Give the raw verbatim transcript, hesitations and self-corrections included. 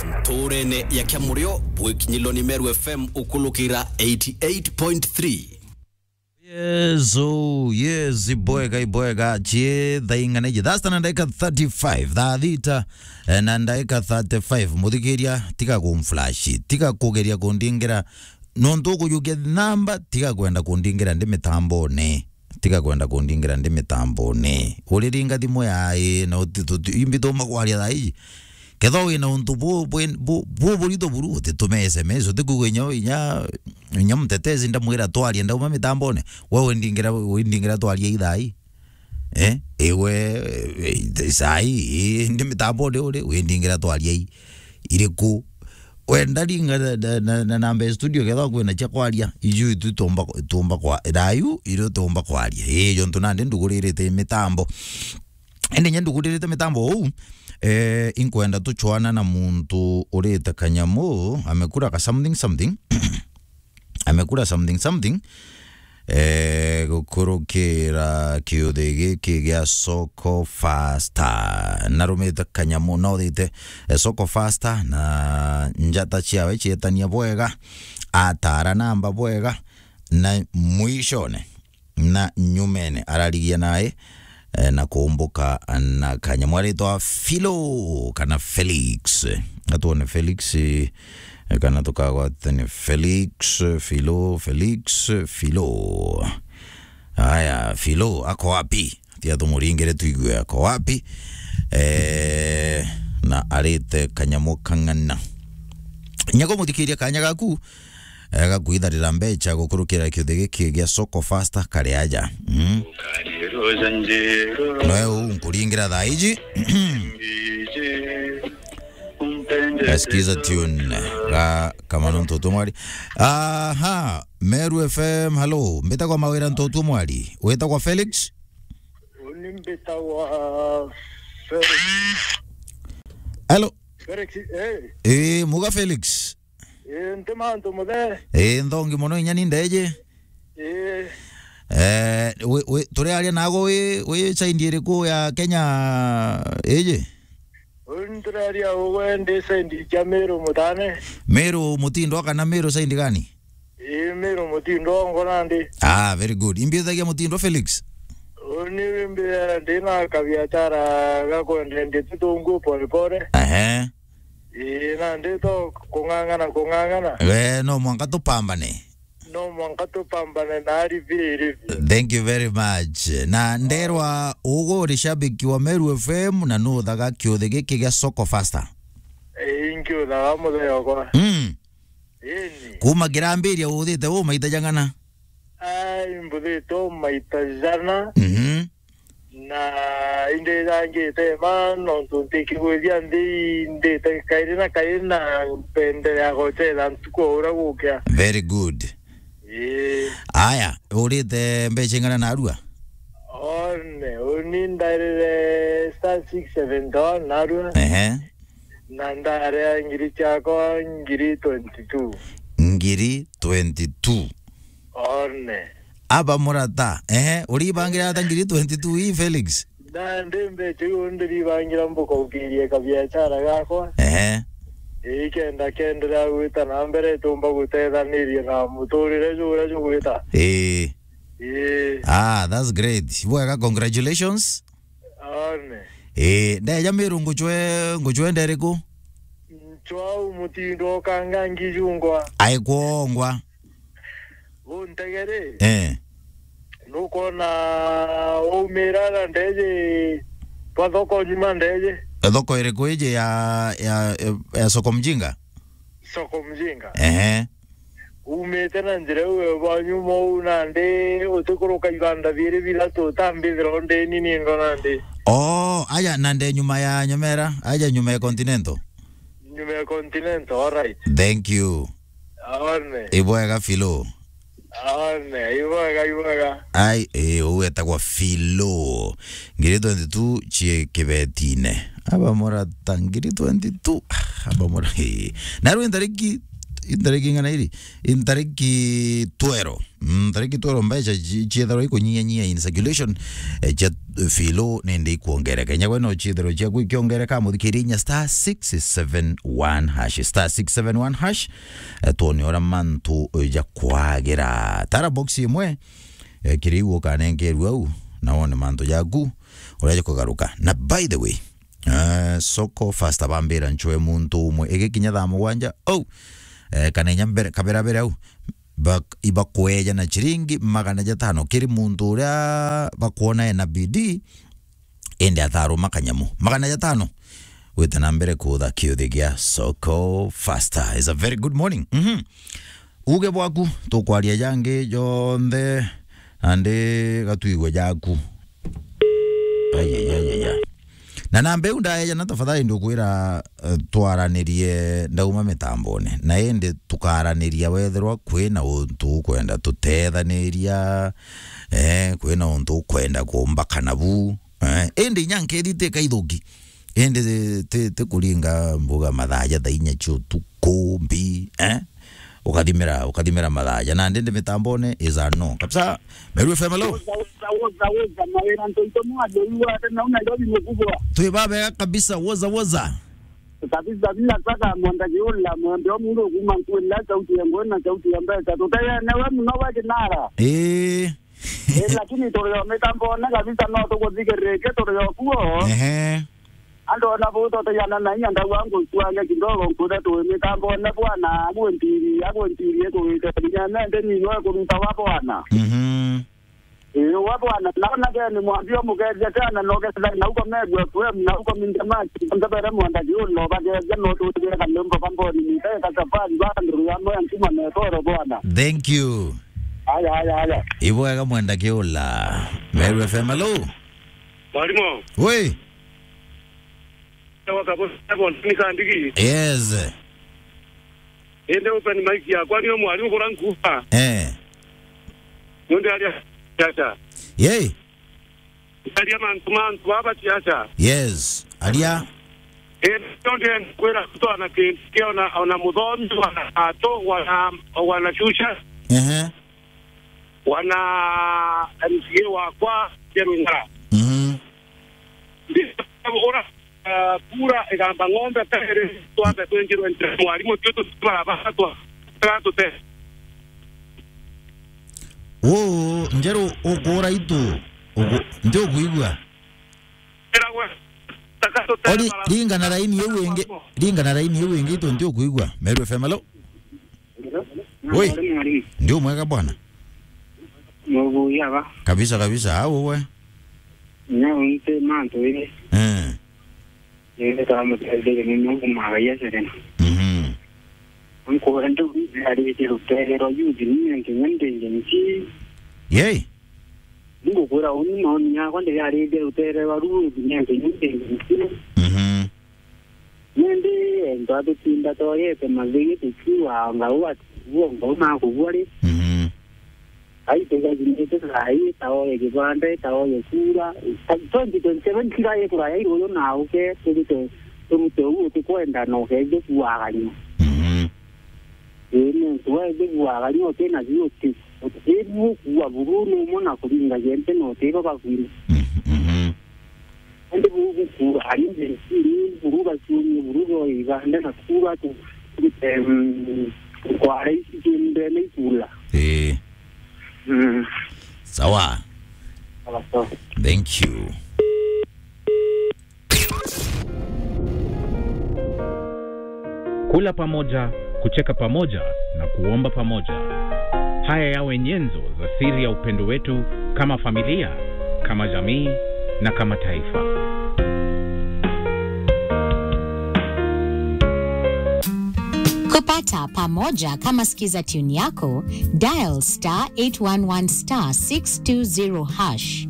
Nturene ya Kiamurio, bwikinyilwa ni Meru F M ukulukira eighty eight point three. Yes, oh, yes, ibwega, ibwega. Chie thaa ing'ana iji? Thaa sita na ndagika thirty-five, thaa thita, eh, na ndagika thirty-five. Muthikiria, tiga kumflash, tiga kugeria kundingira. Nontu ukujukia namba, tiga kwenda kundingira ndi mitambone. Tiga kwenda kundingira ndi mitambone. Uriringa thimu ya ii, na uti-, tuti-, imbi tuma kwaria thaa iji. Kethwa wina untu bu-, bu-, bu-, bu-, burito buru, utitume S M S, utikuigua inya, inya, inya mutetezi ndamwira twarie ndauma mitambone. We windingira, windingira twarie ithai. Eh? Iwe, eh, sai, eh, ndi mitambone uri, windingira twarie i-, iriku? Wenda ringa na, na, na, na namba ya studio kethwa kwina cia kwaria. Iju itu tumba, tumba kwa, rayu, irio tumba kwaria. Eh, jontu nandi nduguririte mitambo. Indi nya nduguririte mitambo uu, eh, inkwenda tuchwana na muntu urite kanyamu, amekura ka something something. Amekura something something. Eh, gukurukira kiuthi giki gia Soko Faster. Narumite kanyamu, nothite, eh, Soko Faster, na njata ciawe cietania bwega, atara namba bwega, na mwishone na nyumene ararigia nae, eh, na kumbuka na kanyamu aritwa Philo kana Felix. Atuone Felix, eh, kana tukagwatania Felix, Philo, Felix, Philo. Aya, Philo ako wapi? Tia tumuringire tuigue ako wapi. Eh, na arite kanyamu kang'ana. Nyago muthikiria kanya gaku, eh, gakwitharira mbecha gukurukira kiuthi giki gia Soko Faster kari aja. Mm. Noe uu nkuringira thaa iji. Gaskiza tune ga Kamano Ntoto Mwari. Aha, Meru F M, hello. Mbitagwa Mawira Ntoto Mwari. Witagwa Felix? Uni mbitagwa Felix. Hello. Felix, eh. Eh, muga Felix. Eh, nti mantu muthe. Eh, nthongi mono inya ni ndeje. Eh. Eh, we, we, turiaria nago wi, wi side iriku ya Kenya iji? Uni turaria ugwe ndi side cia Meru Mutane. Meru Mutindo kana Meru side gani? Ii, Meru Mutindo ngo nandi. Ah, very good. Imbithagia Mutindo Felix? Uni mbia ndina kabiachara ga kwendia nditu tungu pole pole. Ehe. Ii, nandi to kung'ang'ana, kung'ang'ana. We, no mwanka tupambane. No mwanka tupambane na ari biri biri. Thank you very much. Na nderwa ugu uri shabiki wa Meru F M na nuthaga kiuthi giki gia Soko Faster? Ii, nkiuthaga muthenya okwa. Mm. Ii. Kuma kirambiria uthite u maita jang'ana? Ai, mbuthite u maita jana. Mhm. Na indithangite ma nontu ntikigwithia nthi ndite kairi na kairi na mpenderea gocetha ntuku o uria gukia. Very good. Ii. Aya, urite mbecha ing'ana narua? One, uni ndairire star six seven one narua. Ehe. Na ndaria ngiri ciakwa ngiri twenty-two. Ngiri twenty-two. One. Aba murata. Ehe, uribangira ata ngiri twenty-two ii, Felix? Nandi mbecha iu ndiribangira mbukaukirie kabiachara gakwa. Ehe. Ii, kenda kenderea gwita na mbere, tumba gutethaniria na muturire juria jugwita. Ii. Ii. Ah, that's great. Bwega, congratulations. One. Ii, ndeja Miru nguchwe, nguchwe nderiku? Nchwau Mutindo kanga ngijungwa. Aikwongwa. Untegere. Eh. Nukwona waumira na ndeje twa thoko nyuma ndeje? Thoko iriku iji ya, ya, ya Soko Mjinga? Soko Mjinga. Ehe. Umite na njira iu bwa nyuma uu nandi utikuruka ibanda biiri bithatu utambithira ndeni nindo nandi. Oh, aja na nde nyuma ya Nyamera, aja nyuma ya Continental. Nyuma ya Continental, all right. Thank you. One. Ibwega Philo. One, ibwega, ibwega. Ai, eh, uu etagwa Philo. Ngiri twenty-two cie kibetine. Aba murata ngiri twenty-two. Ah, aba mura-, eh. Na rwinda riki i ntariki ing'ana iri? I ntariki twero. Mm, ntariki twero mbeca ci-, ciethirwa ikunyinyanyinya in circulation, eh, cia filo nindi ikwongereka. Inya gwe no ciethirwe ciaku ikiongereka, muthikiri inya star six seven one hash, star six seven one hash, eh, twone uria mantu, eh, jakwagira. Tara box imwe, eh, kiri iu ukanenkerua au, na wone mantu jaku uria jakugaruka. Na by the way, eh, Soko Fasta bambira ncwe muntu umwe igikinya thaa mugwanja, oh, eh, kana inya mbere, kabera bere au, bak-, ibakweja na ciringi magana jatano kiri muntu uria bakwona ena bidii, indi ataruma kanyamu. Magana jatano. Gwita na mbere kutha kiuthi gia Soko Fasta. It's a very good morning. Mhm. Uge bwaku, tukwaria jangi jonthe, nandi gatwigwe jaku. Ai, ai, ai, ai, ai. Na namba iu ndaeja na tafadhali ndukwira, eh, twaranirie ndauma mitambone. Na indi tukaraniria wethirwa kwina untu ukwenda tutethaniria, eh, kwina untu ukwenda kumbaka nabu. Eh, indi inya nkethi ti kaithuki. Indi ti, ti, ti kuringa mbuga mathaa ja thaa inya cia utuku, mbi, eh? Ukathimira, ukathimira mathaa ja. Nandi ndi mitambone is a no. Kabisa, Meru F M, hello? Woza, woza, woza, woza, mawira ntoito mwa, ndoiwa, ate na una ndobi mukubwa. Twi babega kabisa, woza, woza. Kabisa, bila saka, mwenda kiula, mwenda omundu kuma nkwenda sauti ya ngwena, sauti ya mbeta. Tutaya, newe muno wa kinara. Ii. Eh, lakini turi o mitambone kabisa, no tuguthikirike turi o kuo. Ehe. Andu ona bu tutayana na inya ndauga ngutwanya kidogo nkuria twi mitambone bwana, agwe ntiri, agwe ntiri ikuwite kinya nende ninwe kuruta wa bwana. Mhm. Ii, wa bwana, naona geni mwambie umukethia sana, no gethira na uko Meru F M, na uko Minja Machi, ndebere mwenda kiuno, bagethia no tutire kanyimbo kamboni, niteka safari, bandu ya moya nkuma metoro bwana. Thank you. Aya, aya, aya. Ibwega mwenda kiula. Meru F M, hello? Mwalimu. Wi. Ewa kabo, ebo, ni kandigi. Yes. Ende open mic yakwa, ni mwalimu bora nkuba. Eh. Nonde aria siasa. Yei. Aria mantu, mantu baba siasa. Yes. Aria. Eh, nonde kwira kutwana kintu kia ona, ona muthomi, wana ato, wana, wana shusha. Ehe. Wana M C A wakwa, Jerwingara. Mhm. Ndi-, ora, ah, kura igamba ng'ombe tere, twambe twinjirwe ntere mwarimu, tio tutibara batwa, tera tute. Uu, Njeru, ukura itu, uku-, nti ukuigua? Era gwe, taka tute Ori, bara-, ringa na raini iu ingi, ringa na raini iu ingi, itu nti ukuigua? Meru F M, hello? Oi. Mwalimu, mwalimu. Ndio mwega bwana. Mubuya ba. Kabisa, kabisa. Au we. Nya unte mantu iri. Eh. Iri kama tele ni mungu magaya serena. Mhm. Nkwenda ari rutere rwa youth ni nkinya ndenge nki. Yei. Ngukwira uni maoni yakwa ndi ari rutere rwa youth ni nkinya ndenge nki. Mhm. Nindi ento atutinda toyete mathigi tukiuga ngau ati buo ngau makubua ri. Mhm. Ai tugathimite thaai taoye kibanda taoye kura. Twenty twenty seven kira ye kuraya iruyu na uke turute turute uu utikwenda na ukethie kuagania. Mhm. Ii ni ntu wethie kuagania utina biuti. Utibu kuua buru ni umwe na kuringagia nti na utiba bakwina. Mhm. Mhm. Indi buu bukura, ari nthiri, buru baciumie, buru boe iganda na kura tu, em, kwara ici ciendene ikula. Ii. Mm. Sawa. Sawa, sawa. Thank you. Kula pamoja, kucheka pamoja na kuomba pamoja. Haya yawe nyenzo za siri ya upendo wetu kama familia, kama jamii na kama taifa. Kupata pamoja kama skiza tune yako, dial star eight one one star six two zero hash.